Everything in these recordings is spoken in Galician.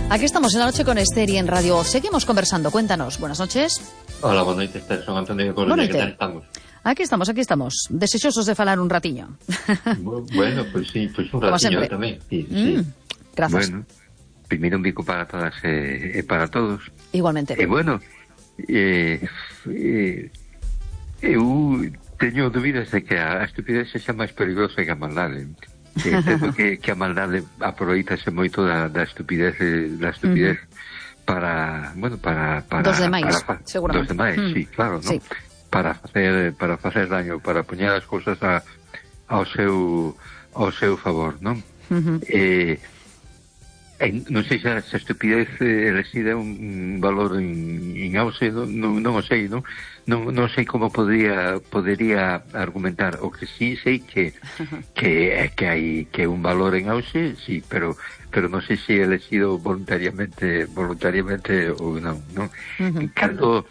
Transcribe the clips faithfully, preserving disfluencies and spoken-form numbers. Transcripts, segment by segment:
Aquí estamos en La Noche con Esther y en Radio. Seguimos conversando. Cuéntanos. Buenas noches. Hola, buenas noches, Esther. Son Antonio de Coruña. ¿Qué tal estamos? Aquí estamos, aquí estamos. Deseosos de falar un ratiño. Bueno, pues sí, pues un ratiño tamén. Sí, mm, sí. Grazas. Bueno, primeiro un bico para todas e eh, para todos. Igualmente. E eh, bueno, eh, eh, eu teño dúbidas de que a estupidez sexa máis perigosa que a maldade. Que, que, que a maldade aproveitase moito da, da estupidez da estupidez uh-huh. para, bueno, para, para dos demais, para, seguramente. Dos demais, mm. sí, claro, ¿no? Sí. Para facer para facer daño, para poñer as cousas a, ao seu ao seu favor, non? Uh-huh. Eh, eh, non sei se a estupidez eh, reside un, un valor en, en auxe, non, non, non o sei, non? Non, non sei como podría podería argumentar. O que sí sei que que que hai que un valor en auxe, sí, pero pero non sei se é elegido voluntariamente voluntariamente ou non, non? Uh-huh. Cando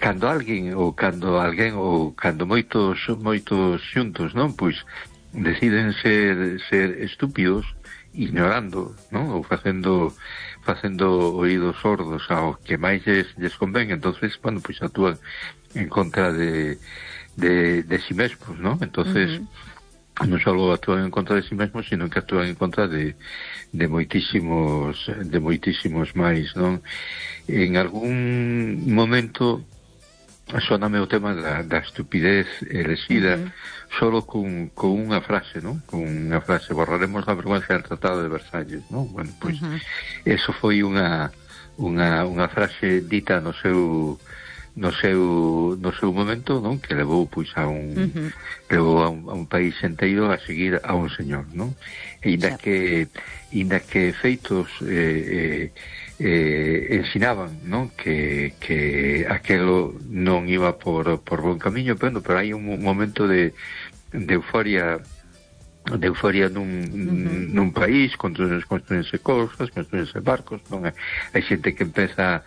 cando alguén ou cando alguén ou cando moitos moitos xuntos, non? Pois deciden ser ser estúpidos, ignorando, non? Ou facendo facendo oídos sordos ao que máis lles, lles convén, entonces, bueno, pois actúan en contra de de, de si mesmos, non? Entonces, uh-huh. non só actúan en contra de si mesmos, sino que actúan en contra de de moitísimos de moitísimos máis, non? En algún momento soname o tema da, da estupidez elexida uh-huh. solo con, con unha frase, non? Con unha frase, borraremos a vergüenza del Tratado de Versalles, non? Bueno, pois, uh-huh. eso foi unha unha unha frase dita no seu no seu no seu momento, non? Que levou pois a un uh-huh. levou a un, a un país enteiro a seguir a un señor, non? E inda sí. que inda que feitos eh, eh, eh, ensinaban, non? Que, que aquelo non iba por, por bon camiño, pero, pero hai un momento de, de euforia de euforia nun, uh-huh. nun país, construense cousas, construense barcos, non? Hai xente que empeza